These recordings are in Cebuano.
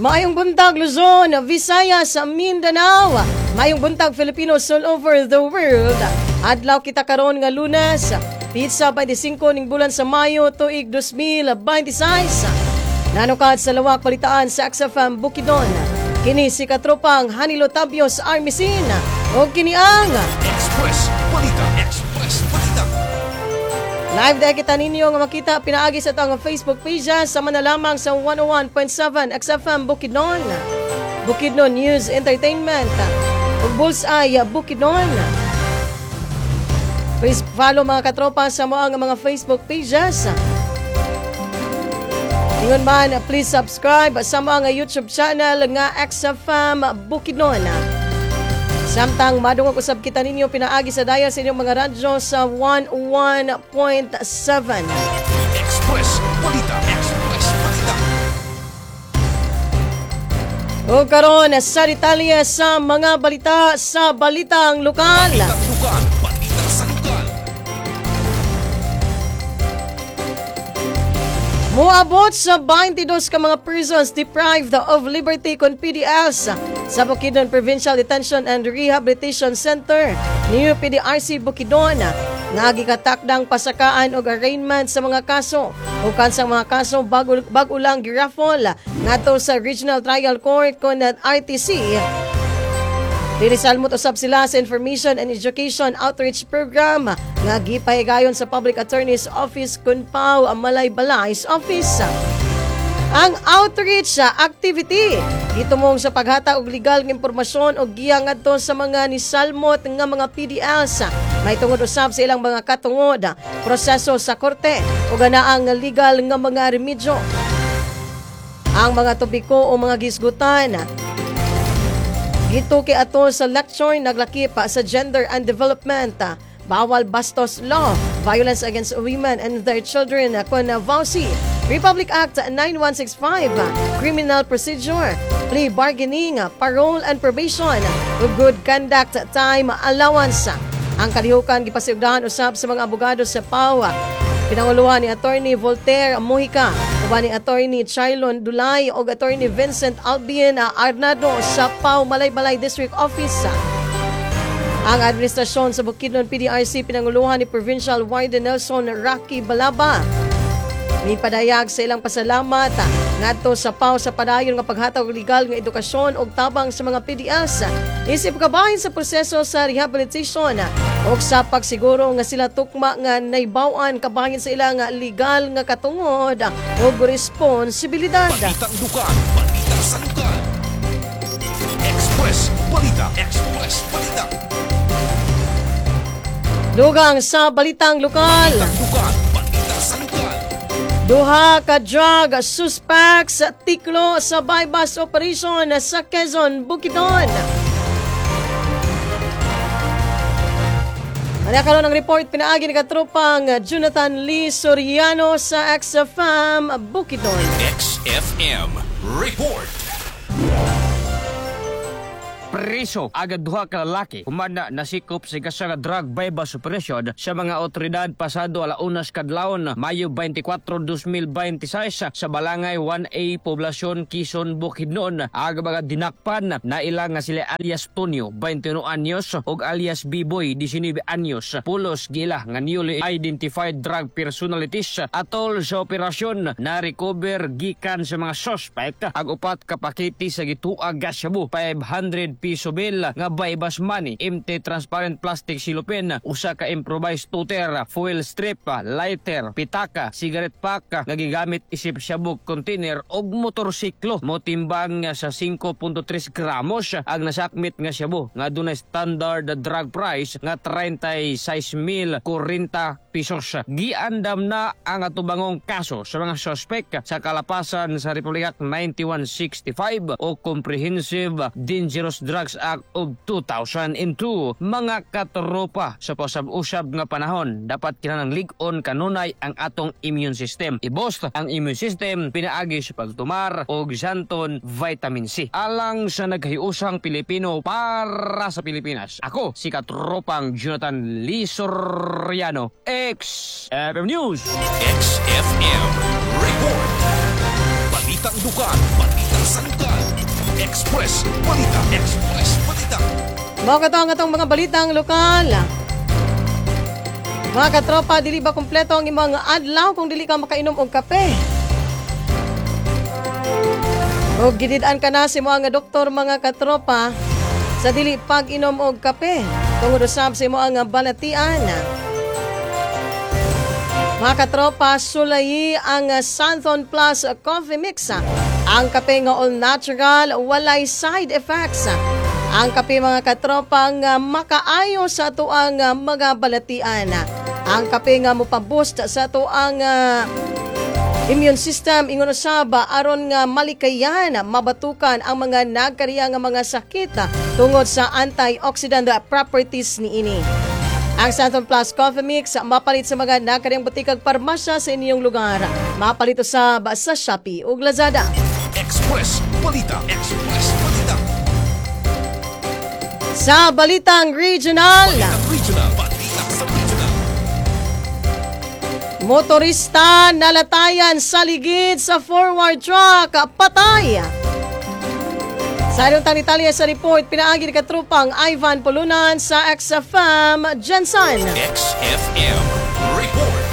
Maayong buntag, Luzon, Visayas, Mindanao. Maayong buntag, Filipinos all over the world. Adlaw kita karon nga Lunes, petsa 25 ning bulan sa Mayo, tuig 2026. Nanukad sa lawak balitaan sa XFM Bukidnon. Kini si katropang Hanilo Tabios Armisin. O kini ang Express Balita. Express Balita. Live dahil kita ninyo nga makita pinaagi sa atong Facebook page sama na lamang sa 101.7 XFM Bukidnon, Bukidnon News Entertainment ug Bullseye Bukidnon. Please follow, mga katropa, sa mo ang mga Facebook pages. Ingon man, please subscribe sa mga YouTube channel nga XFM Bukidnon. Samtang madungog usab kita ninyo pinaagi sa dial sa inyong mga radyo sa 101.7. Express Balita. Express Balita. O karon sa detalye sa mga balita sa Balitang Lokal. Balitang Lokal. Balita sa lokal. Moabot sa 22 ka mga persons deprived of liberty kon PDLs sa Bukidnon Provincial Detention and Rehabilitation Center, New PDRC Bukidnon, nga gikatakdang pasakaan og arraignment sa mga kaso ug kansang mga kaso bago lang giraffle ngadto sa Regional Trial Court kon RTC. Dinisalmot usab sila sa Information and Education Outreach Program nga gipahigayon sa Public Attorney's Office kun PAO Malaybalay's Office. Ang outreach activity gitumong sa paghatag og legal nga impormasyon og giya ngadto sa mga nisalmot nga mga PDLs may tungod usab sa ilang mga katungod, proseso sa korte ug ang legal nga mga remedyo. Ang mga topiko o mga gisgutan gituki ato sa lecture naglakip sa gender and development, bawal bastos law, violence against women and their children kon VAWC, Republic Act 9165, criminal procedure, plea bargaining, parole and probation, ug good conduct time allowance. Ang kalihukan gipasiugdahan usab sa mga abogado sa PAW. Pinanguluhan ni Attorney Voltaire Mojica, uban ni Attorney Chilon Dulay ug Attorney Vincent Albien Arnado sa PAO Malaybalay District Office. Ang administrasyon sa Bukidnon PDRC pinanguluhan ni Provincial Warden Nelson Rocky Balaba may padayag sa ilang pasalamat ngadto sa PAO sa padayon nga paghatag og legal nga edukasyon ug tabang sa mga PDLs isip kabahin sa proseso sa rehabilitation ug sa pagsiguro nga sila tukma nga naibaw-an kabahin sa ilang legal nga katungod ug responsibilidad. Balitang Lokal. Balita sa lokal. Express Balita. Express Balita. Dugang sa Balitang Lokal. Balitang Lokal. Balita sa lokal. Duha ka drug suspects tiklo sa buy-bust operation sa Quezon, Bukidnon. Ano karon ang report pinaagi ni katropang Jonathan Lee Soriano sa XFM Bukidnon. XFM Report. Preso agad duha ka lalaki human na nasikop sa ikasa nga drug buy-bust operation sa mga otoridad pasado 1:00 kadlawon, Mayo 24, 2026 sa Balangay 1A, Poblasyon, Quezon, Bukidnon. Aga mga dinakpan na ilang nga sila alias Tonyo, 21 anyos, ug alias B-Boy, 19 anyos, pulos gila nga newly identified drug personalities. Atol sa operasyon, na recover gikan sa mga suspect ang upat ka pakete sa gituag nga shabu, 500 piso bill nga buy-bust money, empty transparent plastic cellophane, usa ka improvised tooter, foil strip, lighter, pitaka, cigarette pack nga gigamit isip shabu container og motorsiklo. Motimbang sa 5.3 gramos ang nasakmit nga shabu nga dunay standard drug price nga 36,040 pesos. Giandam na ang atubangong kaso sa mga suspect sa kalapasan sa Republic Act 9165 o Comprehensive Dangerous Drugs Act of 2002. Mga katropa, sa pasab-usab nga panahon, dapat kinahanglang lig-on kanunay ang atong immune system. I-boost ang immune system pinaagi sa pagtumar og Xanthone Vitamin C. Alang sa naghiusang Pilipino para sa Pilipinas. Ako si katropang Jonathan Lee Soriano, XFM News. XFM Report. Balitang Lokal, balita. sa lokal. Express Balita. Express Balita. Mao kato ang atong mga balitang lokal. Mga katropa, dili ba kumpleto ang imong adlaw kung dili ka makainom og kape? Og gidid-an ka na sa imo nga doktor, mga katropa, sa dili pag-inom og kape tungod usab sa imo ang balatian. Mga katropa, sulayi ang Santhon Plus Coffee Mix. Ang kape nga all natural, walay side effects. Ang kape, mga katropa, nga makaayo sa atoang mga balatian. Ang kape nga mopaboost sa atoang immune system, ingon usab aron nga malikayan mabatukan ang mga nagkariya nga mga sakit tungod sa antioxidant properties niini. Ang Santon Plus Coffee Mix mapalit sa mga nagkariyang butikag parmasya sa inyong lugar. Mapalit usab sa Shopee ug Lazada. Express Balita. Express Balita. Sa Balitang Regional, Balitang Regional. Balita sa Regional. Motorista nalatayan sa ligid sa forward truck, patay. Sa inyong Italia sa report, pinaagi ni katrupang Ivan Pulunan sa XFM Gensan. XFM Report.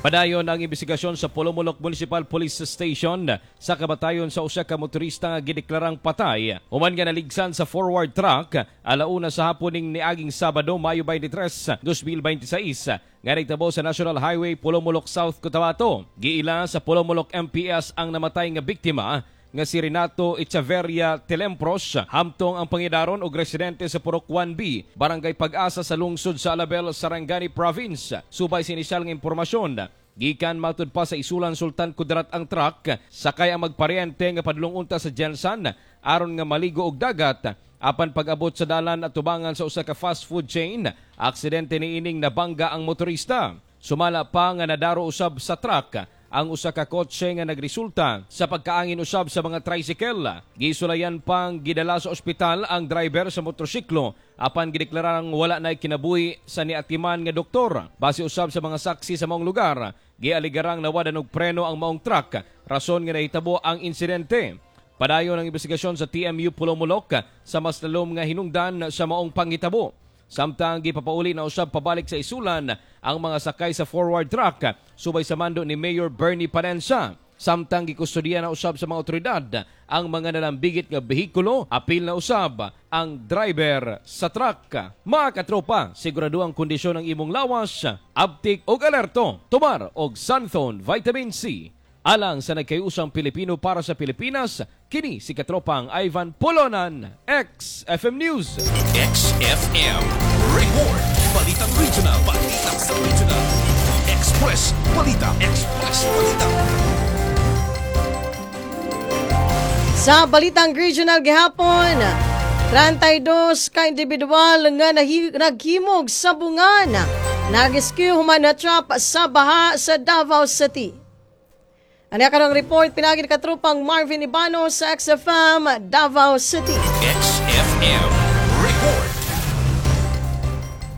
Padayon ang investigasyon sa Polomolok Municipal Police Station sa kamatayon sa usa ka motorista nga gideklarang patay human nga naligsan sa forward truck alauna sa hapon ning niaging Sabado, Mayo 23, 2026, nga nagtabo sa National Highway, Polomolok, South Cotabato. Giila sa Polomolok MPS ang namatay nga biktima nga si Renato Echeverria Telempros, hamtong ang pangidaron og residente sa Purok 1B, Barangay Pag-asa sa lungsod sa Alabel, Sarangani Province. Subay sa inisyal nga impormasyon, gikan matud pa sa Isulan, Sultan Kudarat ang truck, sakay ang magparyente nga padulong unta sa Gensan aron nga maligo og dagat. Apan pag-abot sa dalan at tubangan sa usa ka fast food chain, aksidente niining nabangga ang motorista. Sumala pa nga nadaro usab sa truck ang usa ka kotse nga nagresulta sa pagkaangin usab sa mga tricycle. Gisulayan pang gidala sa ospital ang driver sa motorsiklo apan gideklarang wala na kinabuhi sa niatiman nga doktor. Base usab sa mga saksi sa maong lugar, gialigarang nawadan og preno ang maong truck, rason nga nahitabo ang insidente. Padayon ang investigasyon sa TMU Polomolok sa mas lalom nga hinungdan sa maong panghitabo. Samtang gipapauli na usab pabalik sa Isulan ang mga sakay sa forward truck subay sa mando ni Mayor Bernie Panensa. Samtang gikustodiya na usab sa mga otoridad ang mga nalambigit nga behikulo, apil na usab ang driver sa truck. Mga katropa, sigurado ang kondisyon ng imong lawas, abtik og alerto, tumar og Santhone Vitamin C. Alang sa nagkayusang Pilipino para sa Pilipinas, kini si katropang Ivan Polonan, XFM News. XFM Report. Balitang Regional. Balita sa Regional. Express Balita. Express Balita. Sa Balitang Regional gihapon, 32 ka individual nga naghimog sa bungan. Narescue human na trap sa baha sa Davao City. Ano karong report, pinagi ni katrupang Marvin Ibano sa XFM Davao City. XFM Report.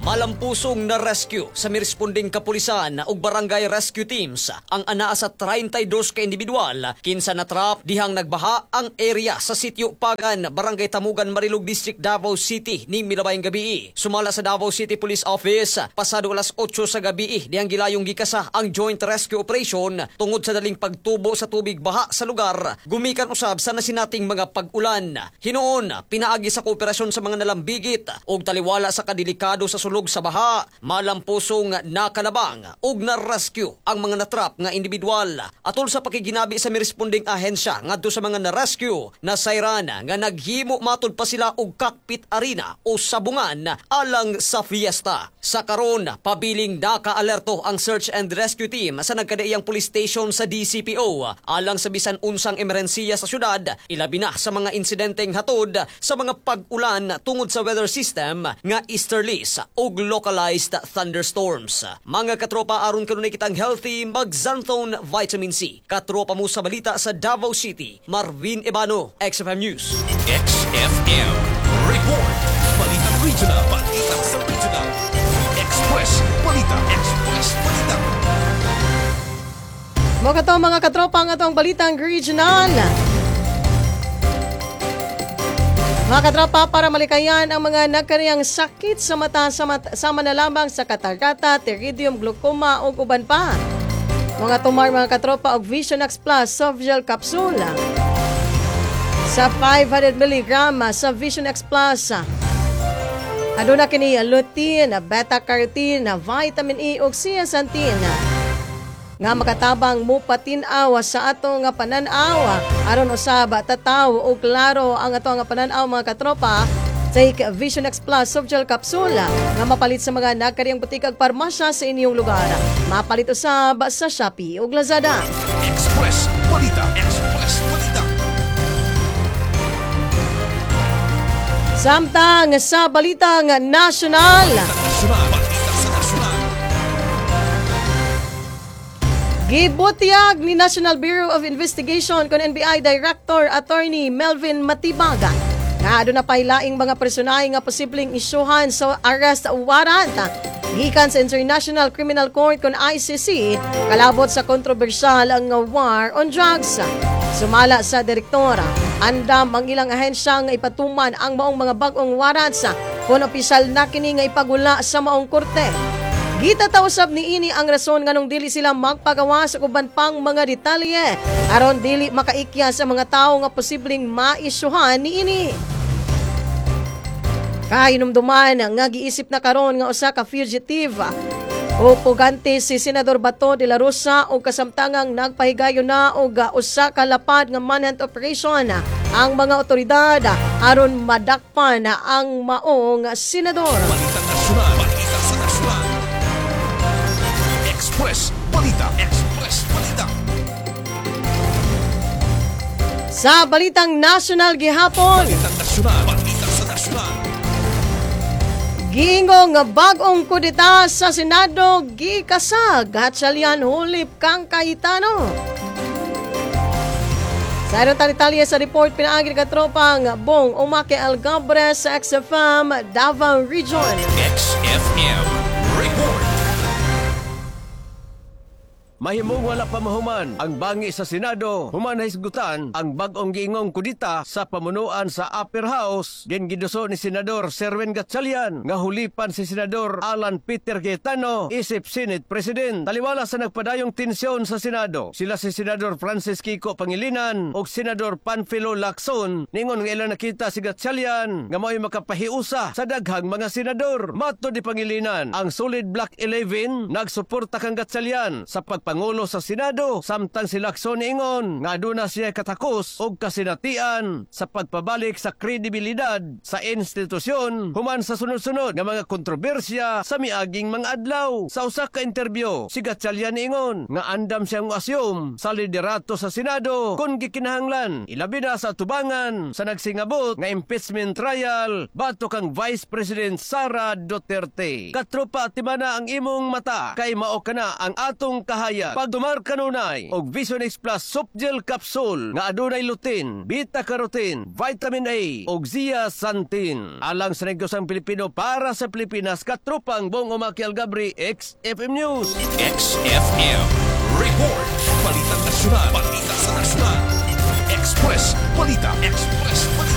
Malampusong na rescue sa miresponding kapulisan ug barangay rescue teams ang anaa sa 32 ka individual kinsa natrap dihang nagbaha ang area sa Sitio Pagan, Barangay Tamugan, Marilog District, Davao City ning milabayng gabi. Sumala sa Davao City Police Office, pasado alas 8 sa gabi dihang gilayong gikasa ang joint rescue operation tungod sa daling pagtubo sa tubig baha sa lugar gumikan usab sa nasinating mga pag-ulan. Hinuon, pinaagi sa kooperasyon sa mga nalambigit ug taliwala sa kadelikado sa sulog sa baha, malampusong nakalabang ug na-rescue ang mga natrap nga individual. Atol sa pakiginabi sa miresponding ahensya ngadto sa mga na-rescue, nasayran nga naghimo matud pa sila og cockpit arena o sabungan alang sa fiesta. Sa karon, pabiling naka-alerto ang search and rescue team sa nagkadaiyang police station sa DCPO alang sa bisan unsang emerhensiya sa syudad, ilabi na sa mga insidenteng hatod sa mga pag-ulan tungod sa weather system nga easterlies ug localized thunderstorms. Mga katropa, aron kanunay kitang healthy, mag-Xanthone Vitamin C. Katropa mo sa balita sa Davao City, Marvin Ebano, XFM News. XFM Report. Balitang Regional. Balita sa Regional. Express Balita. Express Balita. Mao kato, mga katropa, ang atong balitang regional. Mga katropa, para malikayan ang mga nagkariyang sakit sa mata, sama na lamang sa katarata, pterygium, glaucoma ug uban pa, mga tumar, mga katropa, og Vision X Plus soft gel capsule. Sa 500 mg sa Vision X Plus, aduna kini lutein, beta-carotene, vitamin E ug zeaxanthin nga makatabang mupatin-aw sa ato nga panan-aw aron usab tataw o klaro ang ato nga panan-aw. Mga katropa, take Vision X Plus soft gel capsule nga mapalit sa mga nagkariyang butika ug parmasya sa inyong lugar. Mapalit usab sa Shopee ug Lazada. Express Balita. Express Balita. Samtang sa balitang nasyonal, Nasyonal. Balita sa nasyonal. Gibutyag ni National Bureau of Investigation kon NBI Director Attorney Melvin Matibag nga aduna pay laing mga personahe nga posibleng isyuhan sa arrest warrant gikan sa International Criminal Court kon ICC kalabot sa kontrobersyal ang war on drugs. Sumala sa direktora, andam ang ilang ahensya nga ipatuman ang maong mga bag-ong warrants kung opisyal na kini nga ipagula sa maong korte. Gitataw usab niini ang rason nganong dili sila magpagawas og uban pang mga detalye aron dili makaikya sa mga tawo nga posibleng maisyuhan niini. Kahinumduman nga giisip na karon nga usa ka fugitive o pugante si Senador Bato de la Rosa og kasamtangang nagpahigayon na og usa ka lapad nga manhunt operation ang mga otoridad aron madakpan ang maong senador. Balita nasyonal. Balita sa nasyonal. Express Balita. Express Balita. Sa balitang national gihapon, Balita nasyonal. Balita sa nasyonal. giingong nga bag-ong kudeta sa Senado gikasag, Gatchalian hulip kang Cayetano. Sa aron detalye sa report, pinaagi ni katropang Bong Umake Algabres sa XFM Davao Region. XFM Report. Mahimong wala pa mahuman ang bangi sa Senado human nahisgutan ang bag-ong giingong kudita sa pamunuan sa Upper House din giduso ni Senador Sherwin Gatchalian nga hulipan si Senador Alan Peter Cayetano isip Senate President. Taliwala sa nagpadayong tensyon sa Senado, sila si Senador Francis Kiko Pangilinan ug Senador Panfilo Lacson ningon nga ilang nakita si Gatchalian nga mao'y makapahiusa sa daghang mga senador. Matod ni Pangilinan, ang Solid Black 11 nagsuporta kang Gatchalian sa pagpangulo sa Senado, samtang si Lacson ingon nga aduna siya katakos og kasinatian sa pagpabalik sa kredibilidad sa institusyon human sa sunod-sunod nga mga kontrobersya sa miaging mga adlaw. Sa usa ka interview, si Gatchalian ingon nga andam siyang assume sa liderato sa Senado kung gikinahanglan, ilabi na sa tubangan sa nagsingabot nga impeachment trial batok kang Vice President Sara Duterte. Katropa, timana ang imong mata kay mao kana ang atong kahayag. Pagtumar kanunay og Vision X Plus soft gel capsule nga adunay lutein, beta carotene, vitamin A ug zeaxanthin. Alang sa negosyang Pilipino para sa Pilipinas, katropang Bong Umaki Algabri, XFM News. XFM Report. Balita nasyonal. Balita sa nasyonal. Express Balita. Express Balita.